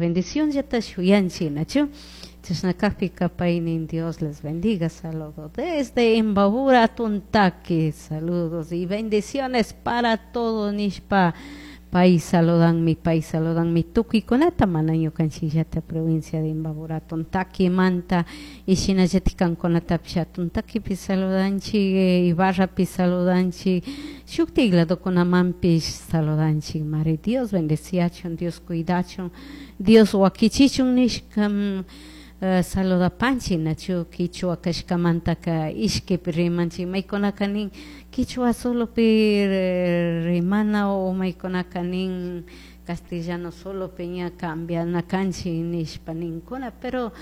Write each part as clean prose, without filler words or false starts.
Bendicionllata shuyanchik, nachu? Chashna kajpika paynin Dios les bendiga. Saludos desde Imbabura, Atuntaqui. Saludos y bendiciones para todos nishpa pay saludanmi tukuykunata, mana ñukanchikllata provincia de Imbabura, Atuntaquimanta, y shinallatik kankunatapish Atuntaquipi saludanchik, Ibarrapi saludanchik, shuktik ladokunamanpish saludanchik mari. Dios bendeciachun, Dios cuidachun, Dios wakichichun nishka saludapanchik, nachu? Kichwa kashkamantaka ishkipi rimanchik. Maykunaka nin kichwa solopi rimana, o maykunaka nin castellano solopi ña cambiana kanchik nishpa ninkuna, pero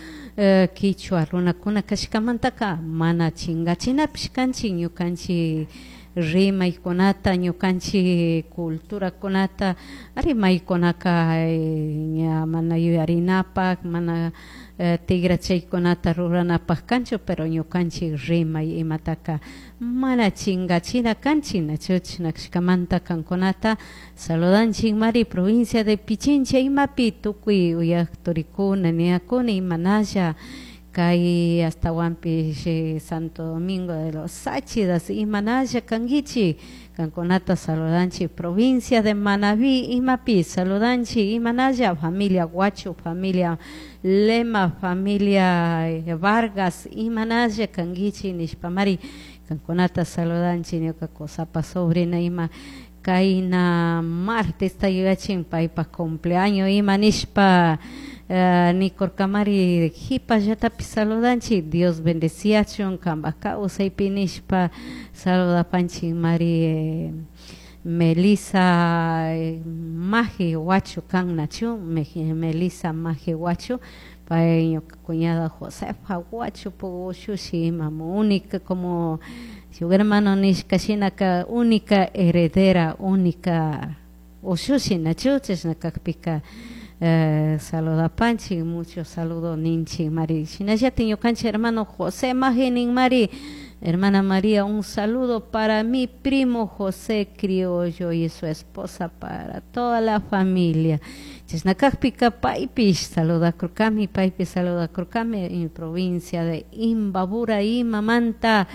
kichwa runakuna kashkamantaka mana chingachinapish kanchik ñukanchik rimaykunata, ñukanchik culturakunata. Ari, maykunaka ña mana yuyarinapak, mana tigrachaykunata ruranapak kanchu, pero ñukanchik rimay imataka mana chingachina kanchik, nachu? Chashna kashkamanta kankunata saludanchik mari. Provincia de Pichincha imapi tukuy uyak turikuna, niyakuna, imanalla kay ashtawanpish Santo Domingo de los Tsáchilas imanalla kankichik, kankunata saludanchik. Provincia de Manabí imapi saludanchik, imanalla familia Guacho, familia Lema, familia Vargas, imanalla kankichik nishpa mari kankunata saludanchik. Ñuka kusapa sobrina ima kayna martes yuyachin paypak cumpleaños ima nishpa nikurkamari, jipallatapi saludanchik, Dios bendeciachun kampak kawsaypi nishpa saludapanchik mari. Melissa Maji Huacho kan, nachu? Melissa Maji Huacho, pay ñuka cuñada Josefa Huacho ushushi ima, única, como shuk hermano nishka shinaka, única heredera, única ushushi, nachu? Chashna kakpika saludapanchik, mucho saludo ninchik mari. Shinallatik ñukanchik hermano José Maji nin mari: "Hermana María, un saludo para mi primo José Criollo y su esposa, para toda la familia". Chashna kakpika paypish saludakurkami, paypish saludakurkami en provincia de Imbabura imamanta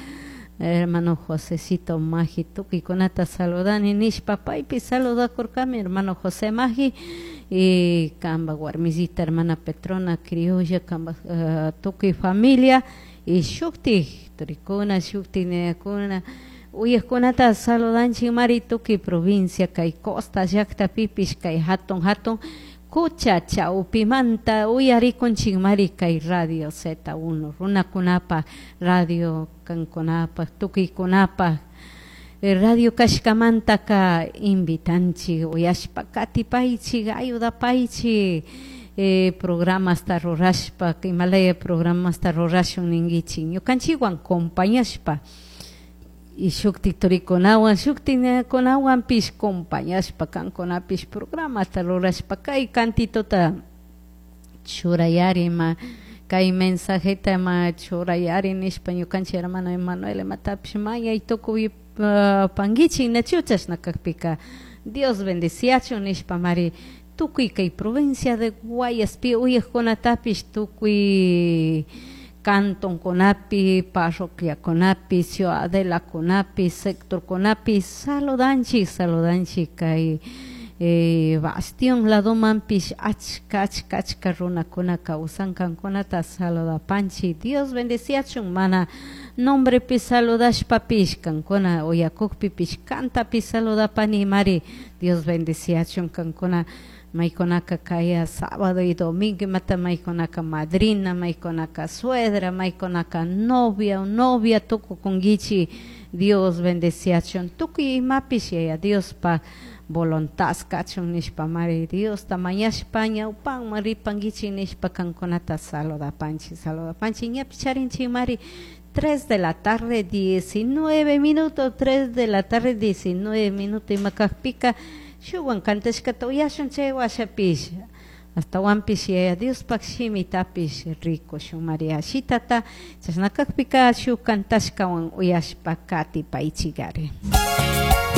hermano Josecito Maji, tukuykunata saludani nishpa paypish saludakurkami, hermano José Maji, y kamba warmisita hermana Petrona Criolla, kamba tukuy familia y shuktik turikuna, shuktik niyakuna uyakkunata saludanchik mari. Tukuy provincia kay costa llaktapipish, kay hatun hatun kucha chawpimanta uyarikunchik mari kay Radio Z1, runakunapaq radio, kankunapaq, tukuykunapaq radio kashkamantaka invitanchik, uyashpa katipaychik, ayudapaychik programasta rurashpa. Imalaya programasta rurashun ninkichik, ñukanchikwan compañashpa y shuktik turikunawan, shuktik kunawanpish compañashpa, kankunapish programata rurashpa kay cantitota churayari, ima kay mensajeta ima churayari nishpa ñukanchik hermano Emanuel imatapish mañay tukuy pankichik, nachu? Chashna kakpika Dios bendeciachun nishpa mari tukuy kay provincia de Guayaspi uyakkunatapish, tukuy cantonkunapi, parroquiakunapi, ciudadelakunapi, sectorkunapi saludanchik, saludanchik. Kay Bastión ladomanpish achka achka achka runakuna kawsan, kankunata saludapanchik. Dios bendeciachun. Mana nombrepi saludashpapish, kankuna uyakukpipish kantapish saludapani mari. Dios bendeciachun kankuna. Maykunaka kaya sábado y domingo imata, maykunaka madrina, maykunaka suegra, maykunaka novia o novia tukukunkichik, Dios bendeciachun. Tukuy imapish Yaya Diospa voluntad kachun nishpa mari Diosta mañashpa ñawpanman ripankichik nishpa kankunata saludapanchik, saludapanchik. Ñapish charinchik mari 3 de la tarde 19 minutos, 3 de la tarde 19 minutos. Ima kakpika shukwan kantashkata uyashun, chay washapish ashtawanpish Yaya Diospak shimitapish rikushun Maria shitata. Chashna kakpika shuk kantashkawan uyashpa katipaychikari.